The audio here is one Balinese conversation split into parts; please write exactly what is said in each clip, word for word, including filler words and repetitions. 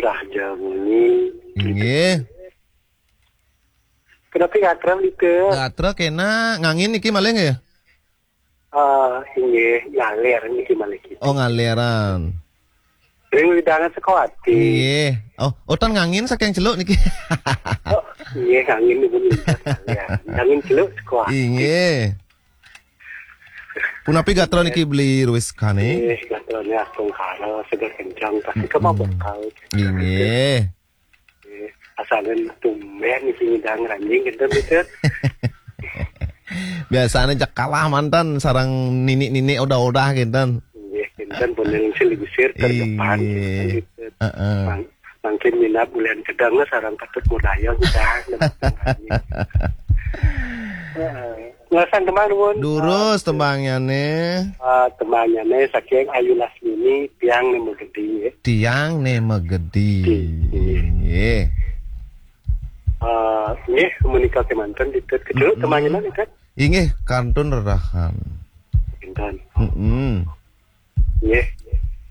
Raja Muni. Inggih. Kenapa gatra gitu? Gatra kena ngangin niki malih nggih? Ah, inggih, ngalir niki malih gitu. Oh, ngaliran. Ring widangan Sukawati. Inggih. Oh, utan ngangin saking celuk niki. Oh, inggih, ngangin niku ngalir. Ngangin celuk Sukawati. Inggih. Punapi gatra niki Beli Ruis Kane? Inggih, gatrane astungkara, seger kencang, pasti kemabuk Mm-mm. Inggih. Asalen tumben sing ngidang ranjing gitu gitu. Biasanya cek kalah mantan sarang nini-nini udah-udah gitu. Nggih, kinten pun yang sing diusir terdepan. Iya. Gitu. Heeh. Mang-, mungkin minat bulan kedang lah sarang patut budaya kita. Heeh. Ngerasan tembang nuwun. Durus tembangnya nih. Ah, tembangnya nih saking Ayu Lasmini, Tiang Nemo Gede. Tiang Nemo Gede. Nggih. Nggih. Ah, nggih, menika kemanten ditet kecil Mm-mm. Tembangnya nih kan? Inggih, kantun rerahan. Kinten. Mm-mm. Nggih.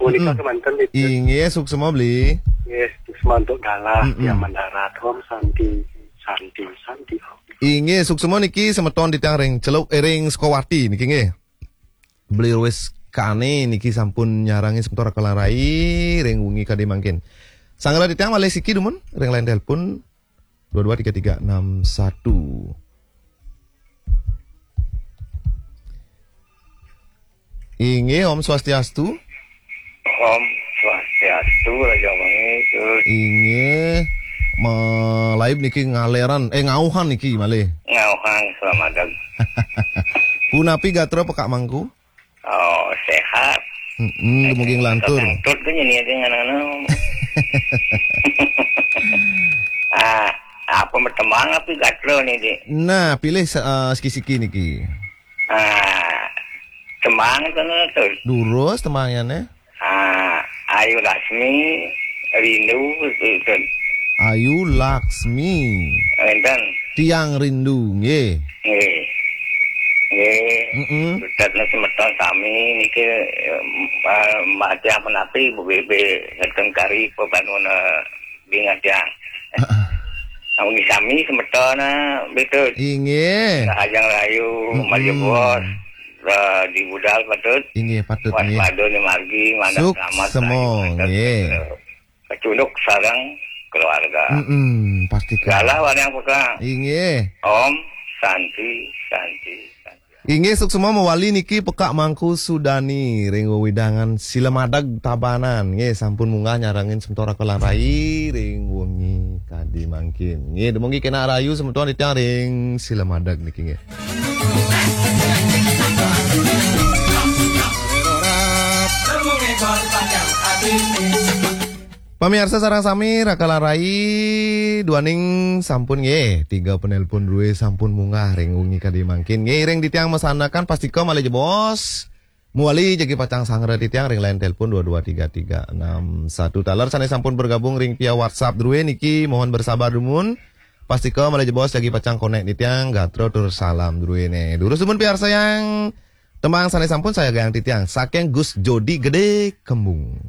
Menika Mm-mm. Kemanten ditet. Inggih, suksma Beli. Nggih, suksma untuk galah Mm-mm. Yang mendarat. Om Santi, Santi, Santi. Inggih, suksma niki semeton titiang ring celuk, eh, ring Sukawati niki nggih. Beli Ruis Kane niki sampun nyarangi semeton Raka lan Rai ring wengi kadi mangkin. Sanggra titiang malih siki dumun ring line telepon dua dua tiga tiga enam satu. Inggih, Om Swastiastu. Om Swastiastu, Raja Wengi, terus. Inggih, malaib niki ngaleran, eh, ngauhan niki malih. Ngauhan, selamat datang. Punapi gatra pekak mangku? Oh, sehat. Mm-mm, dumugi nglantur. Ngentut ke nyeni aja ngana-ngana. Ah, apa bertembang apa gatra nih, Dik? Nah, pilih se-, eh, siki-siki niki. Ah, tembang sana tuh. Durus tembangnya nih. Ah, Ayu Lasmi, Rindu, itu. Ayu Laksmi. Enten. Tiang Rindu, nggih. Nggih. Nggih. Mm-mm. Suksma semeton sami niki, eh, Mbah Tiang Penapi, Bu B B, ngeten kari pebangun, eh, bingat tiang. Heeh. Namun sami semeton, eh, betul. Inggih. Rahajeng Rahayu, Mm-mm. Malih Bos, eh, di budal patut. Inggih, patut, nggih. Waspada ning margi, mandak selamat, Suksma, rahayu, mandak nggih. Kecunduk sareng keluarga. Mm-mm, pasti, Kak. Galah warang peka. Inggih. Om Santi, Santi, Santi. Inggih, suksma mawali niki pekak Mangku Sudani ring wewidangan Silamadeg Tabanan. Nggih, sampun munggah nyarengin semeton Raka lan Rai ring wengi kadi mangkin. Nggih, dumugi kenak rahayu semeton titiang ring Silamadeg niki nggih. Pamiarsa sareng sami, Raka lan Rai, duaning sampun nggih, tiga penelpon druwe sampun munggah ring wengi kadi mangkin. Nggih, ring titiang masandekan pastika malih jebos. Mawali jagi pacang sanggra titiang ring line telepon dua dua tiga tiga enam satu. Taler sane sampun bergabung ring via WhatsApp druwe niki mohon bersabar dumun. Pastika malih jebos jagi pacang konek titiang, gatra tur salam druwene. Durus dumun piarsayang tembang sane sampun sayagiang titiang saking Gus Jodi Gede Kembung.